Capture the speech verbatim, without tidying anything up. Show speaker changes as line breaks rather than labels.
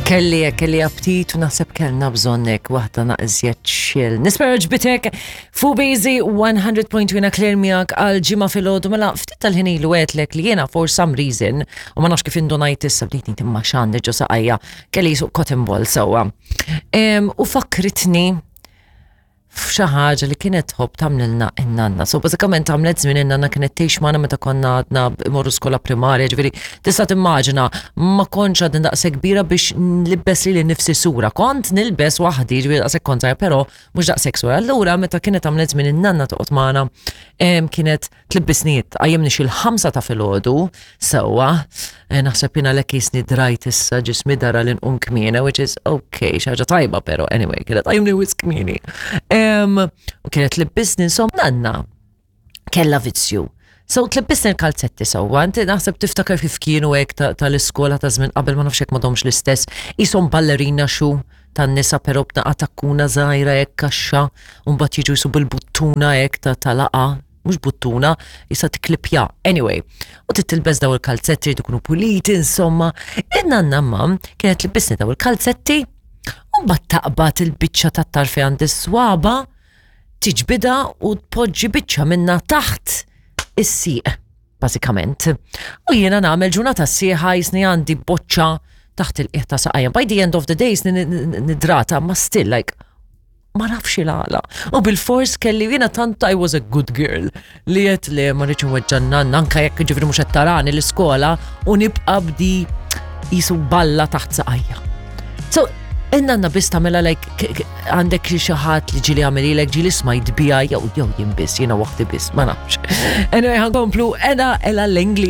Kelli kelli aptit u naħseb kellna bżonnek waħda naqżjet chill. Nispera għoġbitek fuq Busy one hundred point two Claire miegħek għal Ġimgħa filgħodu. Mela ftit tal-ħin ilu għedtlek li jiena for some reason u ma nafx kif indunajt issa, bdejt ngħid imma x'għandi ġo saqajja, kelli qisu cotton ball sewwa. Em, U fakritni f'xi ħaġa li kienet tħobb tagħmlilna in-nanna. So bażikament għamlet żmien in-nanna kienet tgħix magħna meta konna għadna imorru skola primarja, ġifieri tista' timmaġina ma kontx għadni daqshekk kbira biex nlibbes lili nnifsi sura. Kont nilbes waħdi, ġifieri daqshekk kont żgħira, però mhux daqshekk sura. Allura meta kienet għamlet żmien in-nanna toqgħod magħna, em, kienet tlibbisni, tqajjimni xi l-ħamsa ta' filgħodu sewwa. Eh, Naħseb jiena lek jisni drajt issa, ġismi dara li nqum kmieni, which is okay, xi ħaġa tajba, pero anyway, kienet tqajjimni wisq kmieni. Em, U kienet tlibbisni, insomma, nanna kella vizzju. So tlibbisni l-kalzetti sewwa, inti naħseb tiftakar kif kienu hekk ta- tal-iskola ta' żmien qabel, ma nafx hekk m'għadhomx l-istess, qishom ballerina shoe tan-nisa, però b'naqa takkuna żgħira hekk kaxxa, u mbagħad jiġu jisu bil-buttuna hekk ta' talaqa, mhux buttuna, jista' tiklipja. Anyway, u titilbes daw il-kalzetti jridu jkunu puliti, insomma. In-nanna ma kienet tlibbisni daw il-kalzetti u mbagħad taqbad il-biċċa tat-tarfi għand is-swaba, tiġbida u tpoġġi biċċa minna taħt is-sieq, bażikament. U jiena nagħmel ġurnata sħiħa jisni għandi boċċa taħt il-qiegħ ta' saqajja. By the end of the day jisni nidrata, ma still like ma nafx il-għala. U bil-fors kelli jiena tant I was a good girl li għedt li ma rridx nweġġa' nanna, anka jekk ġifieri mhux qed tarani l-iskola u nibqa' b'di qisu balla taħt saqajja. So, in-nanna biss tagħmilha, like k- k- għandek xi ħadd li ġieli għamililek, ġieli smajt bija jew jew jien biss, jiena waħdi biss, ma nafx. Anyway, ħa nkomplu ena Ella Langley.